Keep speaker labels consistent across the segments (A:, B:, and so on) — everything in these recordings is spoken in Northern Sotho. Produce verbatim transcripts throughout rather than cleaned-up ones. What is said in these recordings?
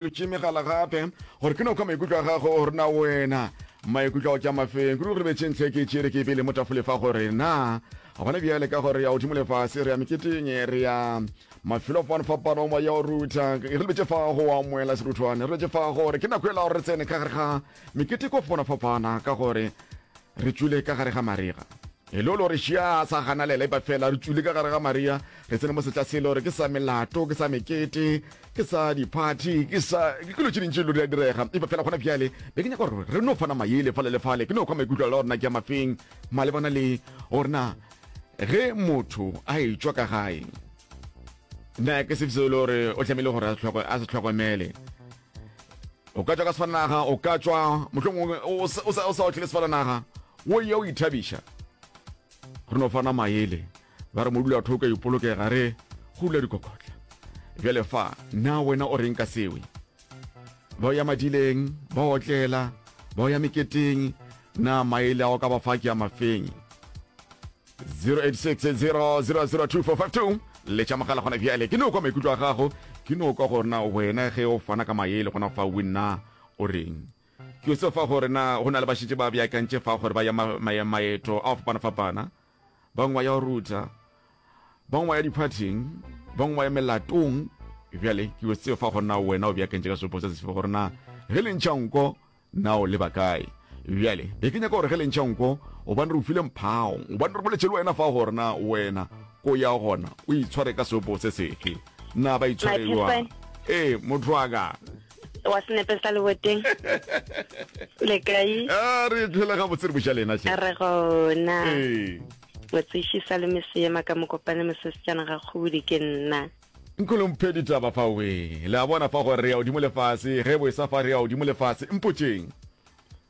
A: Tše megala gape gore ke no kwa maikutlo a gago gore na wena maikutlo ao ke a mafeng. Kudu re betše ntlha ke tšere ke pele mo tafole fa gore na gona bjale ka gore ya godimo lefase re ya meketeng re ya mafelo a fapana-fapana o ya go rutha re lebetše fa go amoela seruthwane re lebetše fa gore ke nako e la gore re tsene ka gare ga mekete ko fapana-fapana ka gore re tšwile ka gare ga marega e le gore šia sa ganalela epa fela re tšwile ka gare ga maria re tsene mo setla sele gore ke sa melato ke sa mekete ke sa di-party ke sa ke dilo tše dintši lo di a direga epa fela gona bjale be ke nyaka gore re no fana maele fale le fale ke no kwa maikutlo a la gorena ke a mafeng malebana le gore na ge motho a etšwa ka gae na ke sefe se e le gore o tlamehile gore a se hlokomele o ka tšwa ka sefatanaga o ka tšwa mohlomongwe o sa otlele sefatanaga o ye o ithabiša re no fana maele ba re modula thoka ipolokega re go dula dikokotla bjale fa na wena o reng ka sewe ba ya madileng ba otlela ba ya meketeng na maele a o ka ba fa ke a mafeng zero eight six zero zero zero two four five two letša mogala gona bjale ke no kwa maikutlo a gago ke no kwa gore na wena ge o fana ka maele gona fa o nna o reng ke se fa gore na go na le bašetše ba beakantše fa gore ba ya maeto a go fapana-fapana bangwe ba ya go rutha bangwe ba ya diphathing bangwe ba ya melatong bjale ke se fa gore na wena o beakantše ka sepo se sefe gore na ge le ntšha nko na o leba kae bjale be ke nyaka gore ge le ntšha nko gobane re o file mphao gobane re boletše le wena fa gore na wena ko ya gona o itshware ka sepo se sefe na ba itshware jwang ee motho wa ka
B: wa senepe sa leboteng le kae
A: a re tlhela ga botse re buša lena hle
B: re gona
A: ee
B: motsiši sa le meseyema ka mokopane mosesetsana ga kgobodi ke nna
A: Nkolo mphe ditaba fa we le a bona fa gore re ya godimo lefase ge bo sa fa re ya godimo lefase mpotšeng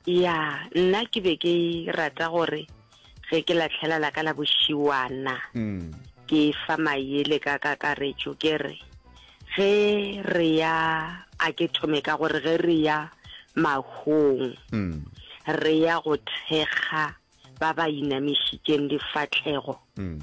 B: ya nna ke be ke rata gore ge ke latlhela la ka la bošiwana
A: mm.
B: ke fa maele ka kakaretšo ke re ge re ya a ke thome ka gore ge re ya mahong
A: mm.
B: re ya go thekga ba ba inamišitšeng difahlego
A: mm.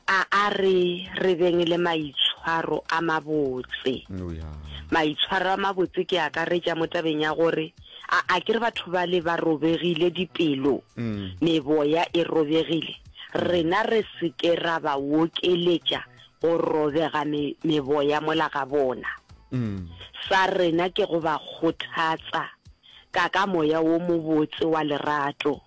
B: a a re re beng le maitshwaro a mabotse
A: oh, yeah.
B: maitshwaro a mabotse ke akaretša mo tabeng ya gore a a ke re batho ba le ba robegile dipelo
A: mm.
B: meboya e robegile rena re se ke ra ba okeletša go robega me, meboya mola ga bona
A: mm.
B: sa rena ke go ba kgothatsa ka ka moya wo mobotse wa lerato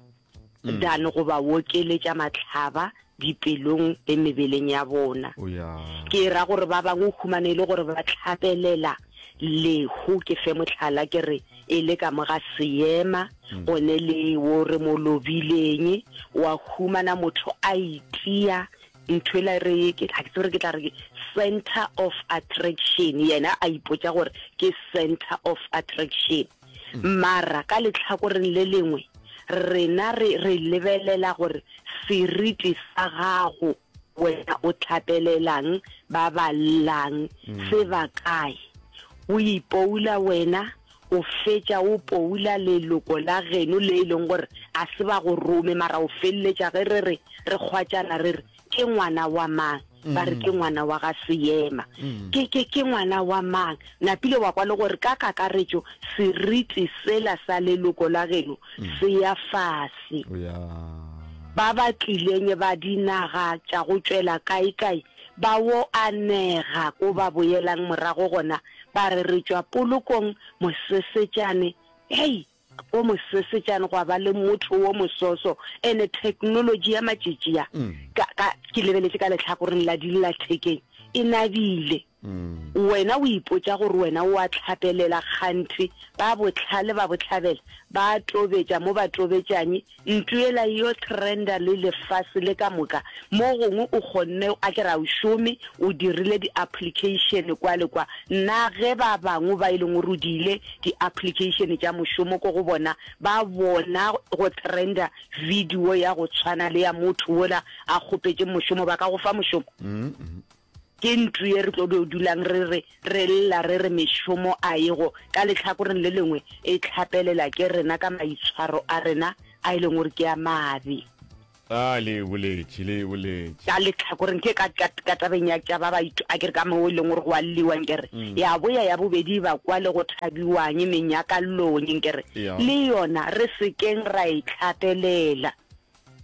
A: mm.
B: dan go ba okeletša matlhaba dipelong le mebeleng ya bona
A: oh, yeah.
B: ke ra gore ba bangwe o humane e le gore ba tlhapelela lehu ke fe motlhala ke re e le ka mo ga seema
A: mm.
B: gone le wo re mo lobileng wa humana motho a itia ntho ela re ke ga ke tsebe gore ke tla re ke center of attraction yena a ipotša gore ke center of attraction
A: mm.
B: mara ka letlhakoreng le lengwe rena re re lebelela gore seriti sa gago wena o tlhapelelang ba ba llang
A: mm.
B: se ba kae o ipoula wena o fetša o poula leloko la geno le e leng gore a se ba go rome mara o feleletša ge re re re kgwatšana re re ke ngwana wa mang ba re ke ngwana wa ga seema
A: mm.
B: ke ke ke ngwana wa mang napile wa kwa le gore ka kakaretšo seriti sela sa leloko la geno
A: mm.
B: se ya fase
A: oh, yeah.
B: ba ba tlileng ba dinaga tša go tšwela kae-kae ba wo anega ko ba boelang morago gona ba re re tšwa polokong mosesetšane hei ko mosesetšane gwa ba le motho wo mososo ene technology ya matšetši ya
A: mm.
B: ka, ka, ke lebeletše ka letlhakoreng la dillathekeng e nabile
A: mm.
B: wena o ipotša gore wena o a tlhapelela kganthe ba botlhale ba botlhabela ba tobetša mo ba tobetšanye ntho ela yo trenda le lefase le ka moka mo gongwe o kgonne a ke ra o šome o dirile di-application kwa le kwa nna ge ba bangwe ba e leng gore o diile di-application tša mošomo ko go bona ba bona go trenda video ya go tshwana le ya motho wola a kgopetše mošomo ba ka go fa mošomo
A: mm -hmm.
B: ke ntlo ye re tlo do dulang re re re lla re re mešomo a ego ka letlhakoreng le lengwe e tlhapelela ke rena ka maitshwaro a rena a e leng gore ke a mabe
A: A le boletše, le boletše.
B: Ka lehlakoreng ke ka, ka, ka tabeng ya tša ba ba itu, a ke re ka mo e leng gore go a lliwa nkere.
A: Mm.
B: Ya boya ya bobedi ba kwa le go thabiwang menyakallong nkere.
A: Ya.
B: Le yona re se keng ra e hlapelela.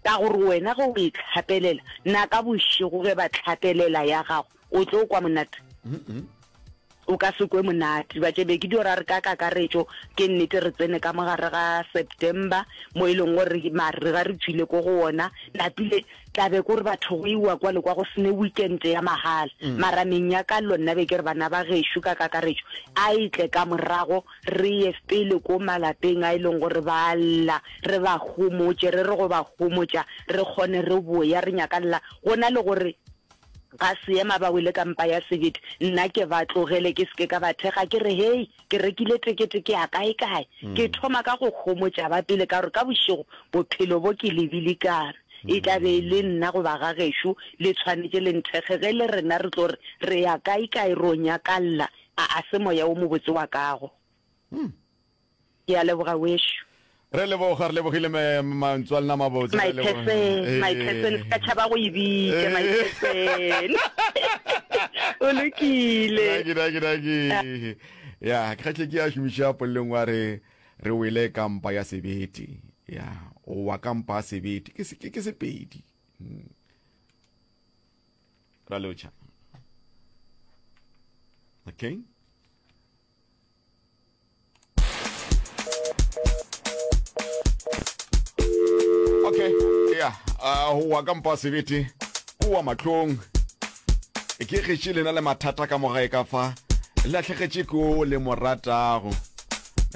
B: Ka gore wena ge o e hlapelela, na ka bošego ge ba hlapelela ya gago, o tlo kwa monate?
A: Mm -mm.
B: O ka se kwe monate. Ba tšebe ke dio ra re ka kakaretšo, ke nnete re tsene ka mogare ga September, mo e leng gore marega re tšwile ko go wona, napile tlabe ko re batho go iwa kwa le kwa go sene weekend ya mahala.
A: Mm.
B: Mara menyakallo nna be ke re bana ba gešo ka kakaretšo, a e tle ka morago, re ye pele ko malapeng a e leng gore ba lla, re ba homotše, re re go ba homotša, re kgone re boya re nyakalla, go na le gore ga seema ba wele ka mpa ya sebete, nna ke ba tlogele ke seke ka ba thekga, ke re hei, ke rekile tekete ke ya kae kae. Ke
A: Mm.
B: thoma ka go homotša ba pele ka gore ka bošego bophelo bo ke lebilikana. E tla be e le nna goba ga gešo le tshwanetše le nthekge, ge le rena re tlo re re ya kae kae ro nyakalla, a a se moya o mobotse wa kago.
A: Mm.
B: Ke a leboga wešo.
A: Re leboga, re lebogile me mantswe a lena mabotse,
B: My
A: re leboga.
B: person, my person,
A: Eh.
B: se ka tšhaba go e bitša, my person. O lokile.
A: Daki, daki, daki. Ya, ke kgahle ke ya šomiša polelong wa re re wele ka mpa ya sebete. Ya, o wa ka mpa ya sebete. Ke se- ke ke Sepedi. Mm. Ra lotšha. Okay. Okay, ya, uh, go wa ka mpa ya sebete, ko wa mahlong. Ke getše lena le mathata ka mogae ka fa, le lahlegetše ko le mo ratago.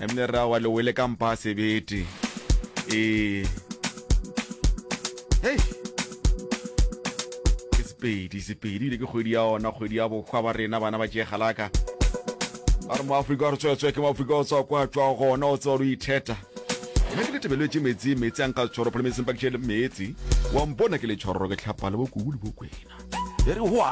A: Ebile re wa le wele ka mpa ya sebete. Ee. Hei. Ke Sepedi, Sepedi ebile ke kgwedi ya ona, kgwedi ya bohwa ba rena bana ba tšegalaka. Ba re moAfrika re tswetswe ke moAfrika o tswa kwa tšwa gona, o tswa o itheta. Nna ke letebeletse metsi, metsi a nka tshwaro phele metsi mpakitše metsi. Wa mpona ke le tshwaroro ke tlhapa le bokubu le bokwena. E re hwa.